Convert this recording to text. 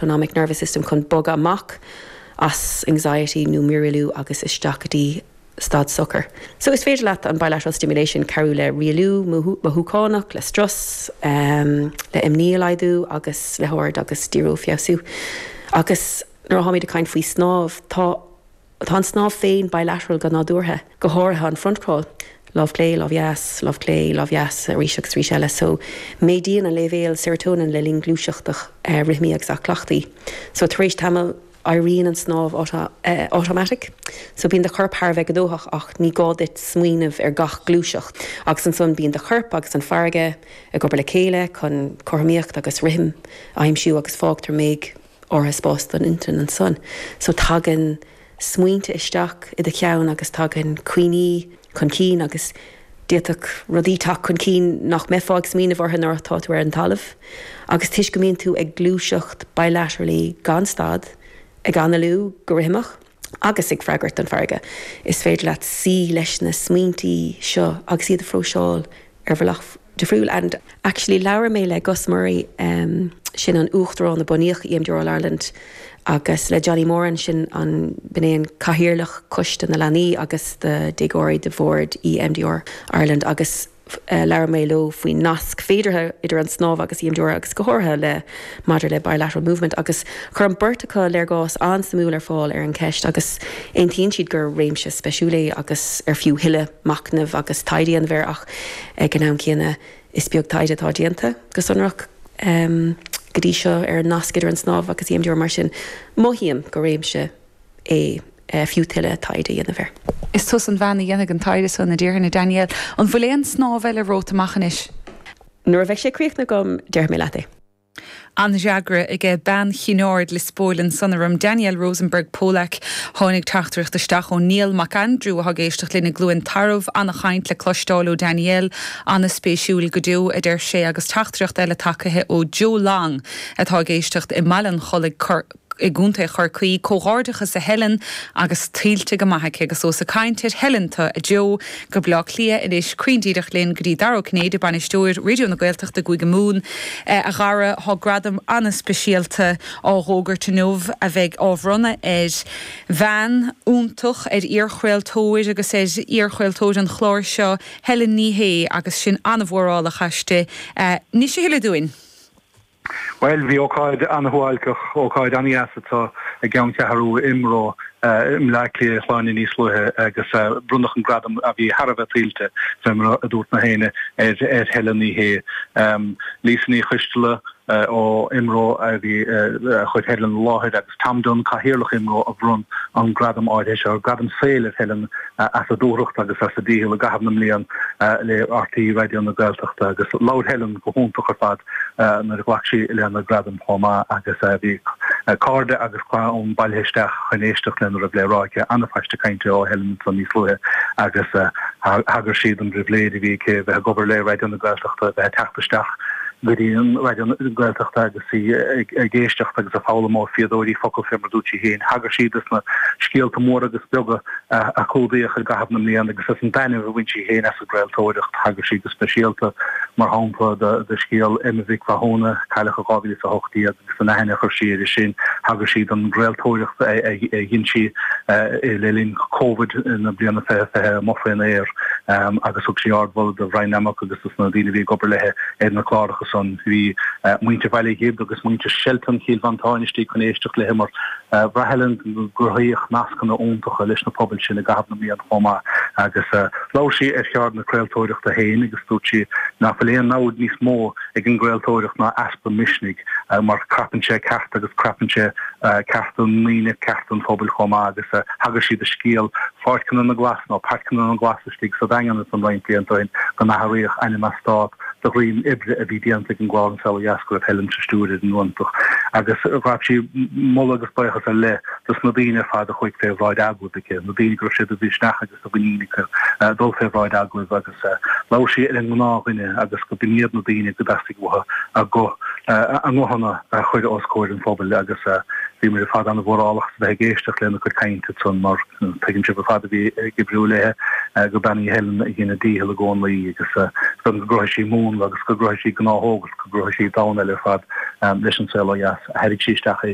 Autonomic Nervous System chun bogadh amach as anxiety nó mírialú agus isteach go dtí staid socair. So is féidir leat an bilateral stimulation cabhrú le rialú mothúchánach, le strus, le imní a laghdú agus le haird agus díriú a feabhsú. Agus nuair atháimid ag caint faoi snámh, tá. Tá an snámh féin bilateral go nádúrtha, go háirithe an front crawl, lámh chlé, lámh dheas, lámh chlé, lámh dheas, arís agus arís eile. So, méadaíonn an léibhéal serotonin le linn gluaiseachta rithimí agus aclaíochtaí. So, tar éis tamaill, éiríonn an snámh automatic. So, bíonn do chorp thar a bheith gnóthach ach ní gá duit smaoineamh ar gach gluaiseacht. Agus ansan bíonn do chorp agus an farraige ag obair le chéile chun cothromaíocht agus rithim a aimsiú agus fágtar méid áirithe spás don intinn ansan. So tagann smaointe isteach i do cheann agus tagann cuimhní chun cinn agus d'fhéadfadh rudaí teacht chun cinn nach mbeifeá ag smaoineamh orthu nuair atá tú ar an talamh. Agus toisc go mbíonn tú ag gluaiseacht bilaterally gan stad, ag análú go rithimeach agus ag freagairt don farraige, is féidir leat suí leis na smaointí seo agus iad a phróiseáil ar bhealach difriúil and actually labhair mé le Gus Murray sin an uachtarán a bunaíodh EMDR All Ireland agus le Johnny Moran sin an b'in é an cathaoirleach coiste na leanaí agus do déagóirí de bhord EMDR Ireland agus labhair mé leo faoin nasc féideartha idir an snámh agus EMDR agus go háirithe le maidir le bilateral movement agus chuir an beirt acu léargas an-suimiúil ar fáil ar an cheist agus aontaíonn siad gur réimse speisiúil é agus ar fiú thuilleadh machnaimh agus taighde a dhéanamh air ach ag an am céanna is beag taighde atá déanta go sonrach go dtí seo ar an nasc idir an snámh agus EMDR mar sin mothaím gur réimse é fiú tuilleadh taighde a dhéanamh air. Is tusa an bhean a dhéanfaidh an taighde san, a déarfainn, a Danielle. An bhfuil aon snámh eile romhat amach anois? Nuair a bheidh sé críochnaithe agam déarfaidh mé leat é. An-fhreagra aige bean Chinn Aird Lios Póil ansan orm, Danielle Rosenberg Polack. Tháinig teachtaireacht isteach ó Niall Mac Aindriú atá ag éisteacht linn i gCluain Tarbh. An-chaint le cloisteáil ó Danielle. An-spéisiúil go deo, a deir sé agus teachtaireacht eile tagtha ó Joe Long atá ag éisteacht i mBaile an Chollaigh, i gContae Chorcaí. Comhghairdeachas a Helen agus tuillte go maith aici. Agus ós ag caint ar Helen tú, a Joe, go Bleá Cliath anois, cruinn díreach linn go dtí Dara Ó Cinnéide, Bainisteoir Raidió na Gaeltachta i gCúige Mumhan. A Dhara, thá gradam an-speisialta á dh'fhógairt inniu a bheidh á bhronnadh ar bhean iontach, ar iarchraoltóir agus ar iarchraoltóir an chláir seo, Helen Ní Shé, agus sin an-mhórálach aisti. Inis a thuilleadh dúinn. Bhuel, bhí ócáid an-shuáilceach, ócáid an-dheas anseo i gceanncheathrú IMRO i mBleá Cliath Shláine níos luaithe agus bronnadh an gradam a bhí thar a bheith tuillte, fé mar a dúirt na héinne, ar Helen Ní Shé. Lisa Ní Choisteala ó IMRO a bhí a chuir Helen i láthair agus Tom Dunne, Cathaoirleach IMRO, a bhronn an gradam áirithe seo, gradam saoil ar Helen as a dúthracht agus as a dícheall i gcaitheamh na mblian le RTÉ Raidió na Gaeltachta agus labhair Helen go hiontach ar fad nuair a ghlac sí lena gradam chomh maith agus bhí cairde agus clann bailithe isteach chun éisteacht lena raibh le rá aici. An-phaiste cainte ó Helen ansan níos luaithe agus thagair sí don bpribhléid a bhí aici bheith ag obair le Raidió na Gaeltachta, bheith ag teacht isteach go dtí an Raidió Gaeltachta agus í ag éisteacht agus ag foghlaim ó fíodóirí focal fé mar a dúirt sí féin. Thagair sí dos na scéalta móra agus beaga a clúdaíodh i gcaitheamh na mblian agus as an dtaitneamh a bhain sí féin as an gcraoltóireacht. Thagair sí go speisialta, mar shampla, do scéal Emma Mhic Mhathúna, a cailleadh i 2018, agus an aithne a chuir sí uirthi sin. Thagair sí don gcraoltóireacht a dhein sí le linn Covid na bliana 2020 amuigh faoin aer agus thug sí ardmholadh do Bhrian Nammock agus dos na daoine a bhí ag obair léi ar na cláracha san. Bhí muintir Bhaile Ghib agus muintir Shelton Chill Mhantáin istigh chun éisteacht léi mar Bhraith Helen go gcruthaíodh nascanna iontacha leis na pobail sin i gcaitheamh na mblian chomh maith agus labhair sí ar cheard na craoltóireachta féin agus dúirt sí nach bhfuil aon namhaid níos mó ag an gcraoltóireacht ná easpa misnigh mar crapann sé cearta agus crapann sé cearta na ndaoine, cearta an phobail chomh maith agus thagair sí do scéal Pháirceanna na nGlas nó Pairceanna na nGlas istigh sa Daingean ansan roinnt blianta ó shin go n-athraíodh ainm eastát de dhroim oibre a bhí déanta ag an gclár An Saol Ó Dheas go raibh Helen sa stiúir ar an iontach agus ghabh sí moladh agus buíochas ar leith dos na daoine ar fad a chuaigh fé bhráid agallaimh aici, na daoine go raibh sé de mhisneach agus de mhuinín acu dul fé bhráid agallaimh agus labhair sí ar an ngnáthdhuine agus go b'in iad na daoine go dteastaigh uathu a guth, a nguthanna a chur os comhair an phobail agus. Bhíomar ar fad an-mhórálach as a bheith ag éisteacht lena cuid cainte ansan mar tuigeann sibh ar fad a bhí ag oibriú léi gur bean í Helen a dhein a dícheall i gcónaí agus go gcruthaigh sí múnla agus go gcruthaigh sí gnáthóg agus go gcruthaigh sí domhan eile ar fad leis an saol ó dheas. Thairg sí isteach é.